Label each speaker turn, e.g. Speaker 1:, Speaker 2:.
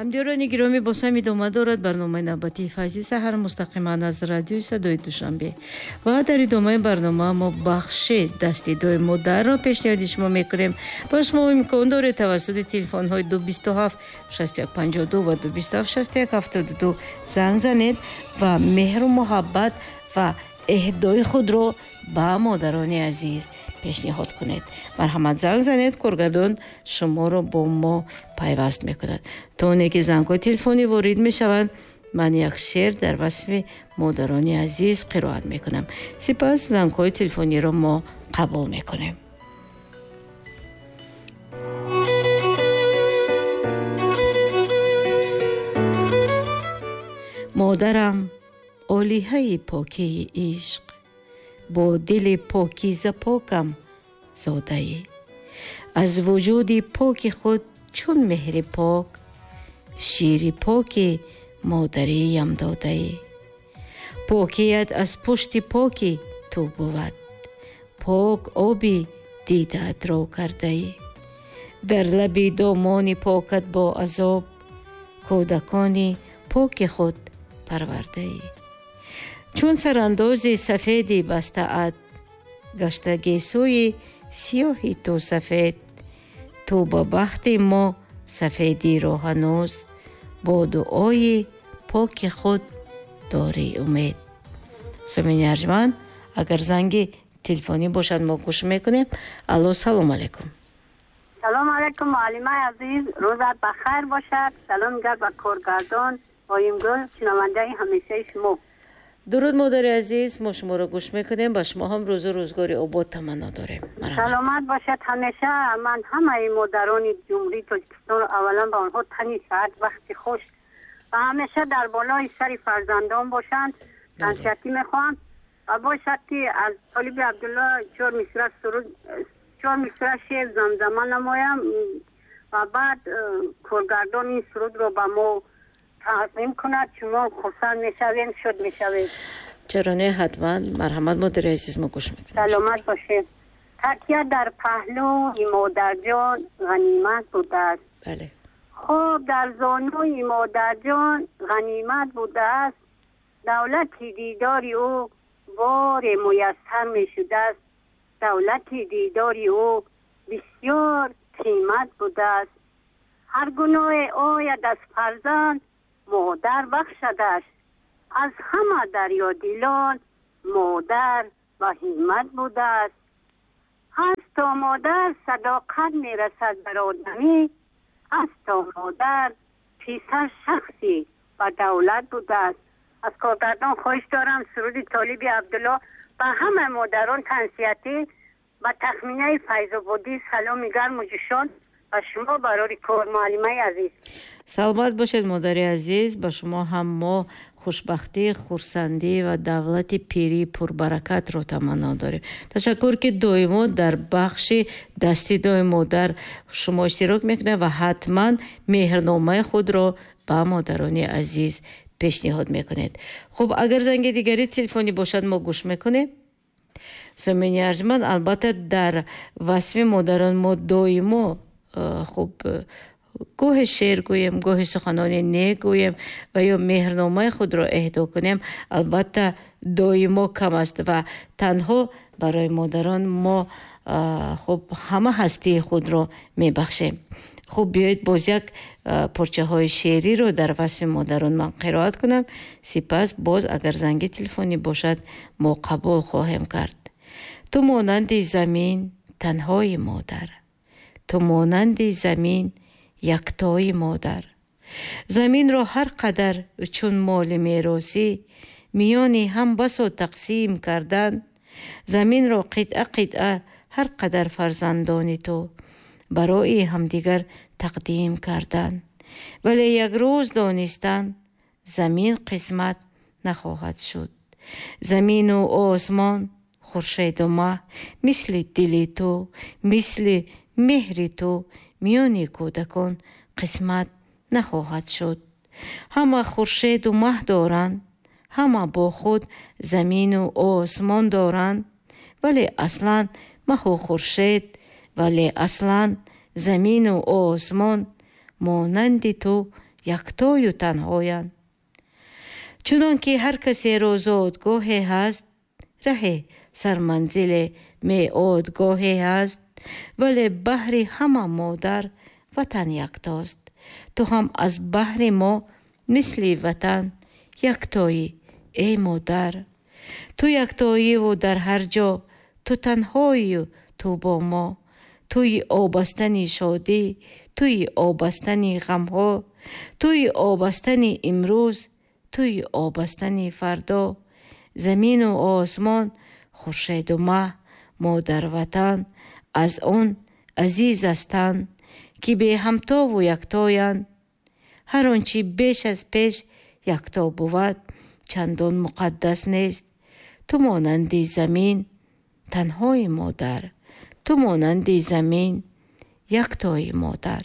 Speaker 1: Ҳамдиёрони гиромӣ, боз ҳам идома дорад барномаи навбатии Файзи саҳар мустақиман аз радиои Садои Душанбе. Ва дар идомаи барнома мо бахши дасти дуои модарро пешниҳоди шумо мекунем. Ба шумо имкон доред тавассути телефонҳои 227 61 52 ва 227 61 72 занг занед ва меҳру муҳаббат ва эҳдои худро ба модарони азиз пешниҳод кунед. Марҳамат, занг занед, коргардон шуморо бо мо пайваст мекунад. То оне ки зангҳои телефонӣ ворид мешаванд, ман як шеър дар васфи модарони азиз қироат мекунам. Сипас зангҳои телефониро мо қабул мекунем. Модарам олиҳаи покии ишқ, бо дили покиза покам зодаӣ. Аз вуҷуди поки худ чун меҳри пок, шири поки модариям додаӣ. Покият аз пушти поки ту бувад, пок оби дидаатро кардаӣ. Дар лаби домони покат бо азоб, кӯдакони поки худ парвардаӣ. Чун сарандози сафеди бастаат, гашта гесӯи сиёҳи ту сафед, ту ба бахти мо сафедиро ҳанӯз бо дуои поки худ дорӣ умед. Сомини арҷманд, агар занги телефонӣ бошад, мо гӯш мекунем. Алло, салом алайкум.
Speaker 2: Салом алайкум, муаллимаи азиз, рӯзат бахайр бошад. Салом гар ба коргардон Оимгул, шунавандаи ҳамешаи шумо.
Speaker 1: Дуруд, модари азиз, мо шуморо гӯш мекунем. Ба шумо ҳам рӯзу рӯзгори обод таманно дорем.
Speaker 2: Саломат бошад ҳамеша. Ман ҳамаи модарони Ҷумҳурии Тоҷикистонро аввалан ба онҳо тани саат, вақти хуш ва ҳамеша дар болои сари фарзандон бошанд тансиҳатӣ мехоҳам. Ва бошад ки аз Толиби Абдулло чор мисра суруд, чор мисра шеър замзама намоям ва баъд коргардон ин сурудро ба мо тақдим кунад. Шумо хурсанд мешавем, шод мешавем.
Speaker 1: Чаро не, ҳатман. Марҳамат, модари азиз, мо гӯш мекунем.
Speaker 2: Саломат бошед. Такя дар паҳлӯи модарҷон ғанимат будааст.
Speaker 1: Бале.
Speaker 2: Хоб дар зонуи модарҷон ғанимат будааст. Давлати дидори ӯ боре муяссар мешудааст. Давлати дидори ӯ бисёр қимат будааст. Ҳар гуноҳе ояд аз фарзанд, модар бахшадаш. Аз ҳама дарёдилон модар ба ҳиммат будааст. Ҳаст то модар садоқат мерасад бар одамӣ, ҳаст то модар писар шахсӣ ба давлат будааст. Аз коргардон хоҳиш дорам суруди Толиби Абдулло ба ҳама модарон тансиҳатӣ ба тахминаи Файзободӣ саломи гарму ҷӯшон ба шумо барори кор, муаллимаи азиз.
Speaker 1: Саломат бошед, модари азиз. Ба шумо ҳам мо хушбахтӣ, хурсандӣ ва давлати пирии пурбаракатро таманно дорем. Ташаккур, ки доимо дар бахши дасти дуои модар шумо иштирок мекунед ва ҳатман меҳрномаи худро ба модарони азиз пешниҳод мекунед. Хуб, агар занги дигари телефонӣ бошад, мо гӯш мекунем. Сомини арҷманд, албатта дар васфи модарон мо доимо хуб гоҳе шеър гӯем, гоҳе суханони нек гӯем ва ё меҳрномаи худро эҳдо кунем, албатта доимо кам аст ва танҳо барои модарон мо хуб ҳама ҳастии худро мебахшем. Хуб, биёед боз як порчаҳои шеъриро дар васфи модарон ман қироат кунам, сипас боз агар занги телефонӣ бошад, мо қабул хоҳем кард. Ту монанди замин танҳои модар, ту монанди замин яктои модар. Заминро ҳар қадар чун моли меросӣ миёни ҳам басо тақсим кардан, заминро қитъа қитъа ҳар қадар фарзандони ту барои ҳамдигар тақдим кардан. Вале як рӯз донистан замин қисмат нахоҳад шуд. Замину осмон, хуршеду маҳ мисли дили ту, мисли меҳри ту миёни кӯдакон қисмат нахоҳад шуд. Ҳама хуршеду маҳ доранд, ҳама бо худ замину осмон доранд, вале аслан маҳу хуршед, вале аслан замину осмон монанди ту яктою танҳоянд. Чунон ки ҳар касеро зодгоҳе ҳаст, раҳе, сарманзиле, меодгоҳе ҳаст, вале баҳри ҳама модар ватан яктост. Ту ҳам аз баҳри мо мисли ватан яктоӣ, эй модар. Ту яктоиву дар ҳар ҷо, ту танҳоию ту бо мо. Туи обастани шодӣ, туи обастани ғамҳо, туи обастани имрӯз, туи обастани фардо. Замину осмон, хуршеду маҳ, модарватан аз он азиз астанд, ки беҳамтову яктоянд. Ҳар он чи беш аз пеш якто бувад, чандон муқаддас нест. Ту монанди замин танҳои модар, ту монанди замин яктои модар.